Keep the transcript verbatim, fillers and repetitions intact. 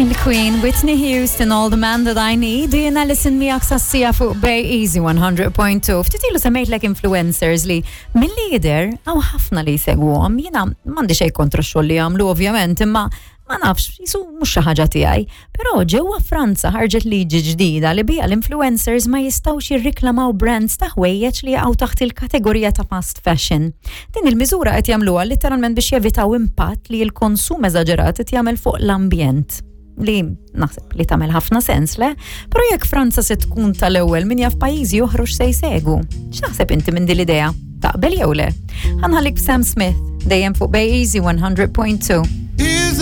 Il-Queen Whitney Houston, All the Man That I Need, jiena listen miegħek sas-siegħa fuq Bay Easy one hundred point two. Ftit ilu semmejtlek influencers li milli jidher hawn ħafna li jsegwuhom. Jiena m'għandi xejn kontra x-xogħol li jagħmlu ovvjament, imma ma nafx, jisu mhux xi ħaġa tiegħi. Però ġewwa Franza ħarġet liġi ġdida li biha l-influencers ma jistgħux jirriklamaw brands ta' ħwejjeġ li jaqgħu taħt il-kategorija ta' fast fashion. Din il-miżura qed jagħmluha literalment biex jevitaw impatt li l-konsum eżaġerat qed jagħmel fuq l-ambjent, li naħseb li tagħmel ħafna sens, le? Però jekk Franza se tkun tal-ewwel, min jaf pajjiżi oħra se jsegwu. X'taħseb inti minn din l-idea? Taqbel jew le? Ħa nħallik b'Sam Smith, dejjem fuq Bay Easy one hundred point two. Here's